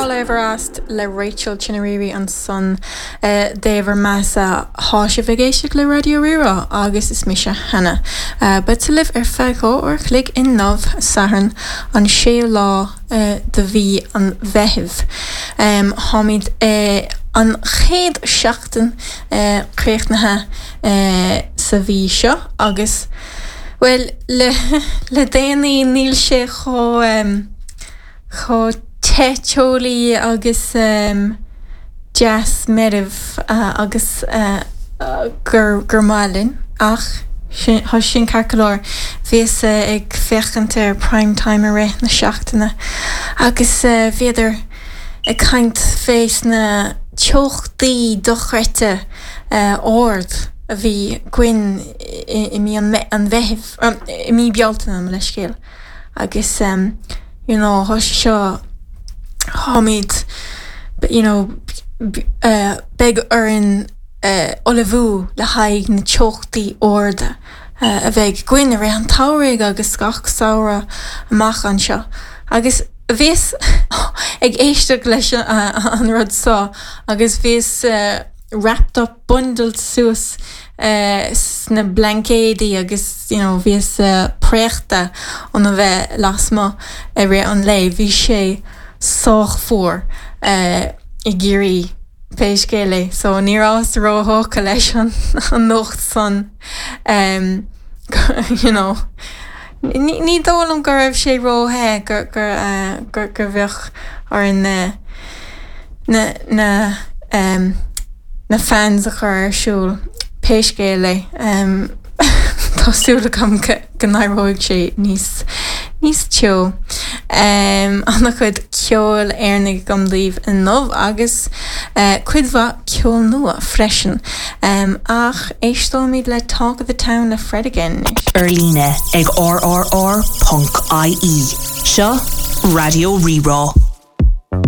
All I Ever Asked le Rachel Chinouriri ansan dé bhur mbeatha-sa. Tá sibh ag éisteacht le Raidió Rí-Rá agus is mise Hannah. Beadsa libh ar feadh 2 uair a chloig inniu, Satharn an 6ú lá de mhí an Mheithimh. Táimid an chéad seachtain críochnaithe sa mhí seo agus, bhuel, le déanaí níl sé chomh. chomh te teolaí agus deas meirbh agus gur gur maith linn ach tá sin ceart go leor. Bhíos ag féachaint ar Prime Time i rith na seachtaine agus bhíodar ag caint fés na teochtaí dochreidte ard a bhí againn i mí an Mheithimh, i mí Bealtaine, mo leithscéal. agus you know tá sé seo táimid you know beidh orainn ullmhú le haghaidh na teochtaí arda a bheidh againn i rith an tsamhraidh agus gach samhradh amach anseo agus bhíos ag éisteacht leis an rud seo agus bhíos wrapped up bundled suas sna blaincéidí agus you know bhíos préachta óna bheith lasmuigh i rith an lae. Bhí sé sách fuar i gCiarraí pé scéal é so ní rabhas róthógtha leis an nuacht san you know ní dóigh liom go raibh sé ró-the gur gur gur bheadh orainn na na na na fans a chur ar siúl, pé scéal é. Tá súil agam go n-éireoidh sé níos níos teo. An-chuid ceoil Éireannaigh agam daoibh inniu agus cuid mhaith ceol nua freisin. Ach éisteoimid le Talk of the Town le Fred again anois. Ar líne ag rrr.ie. Seo Raidió Rí-Rá.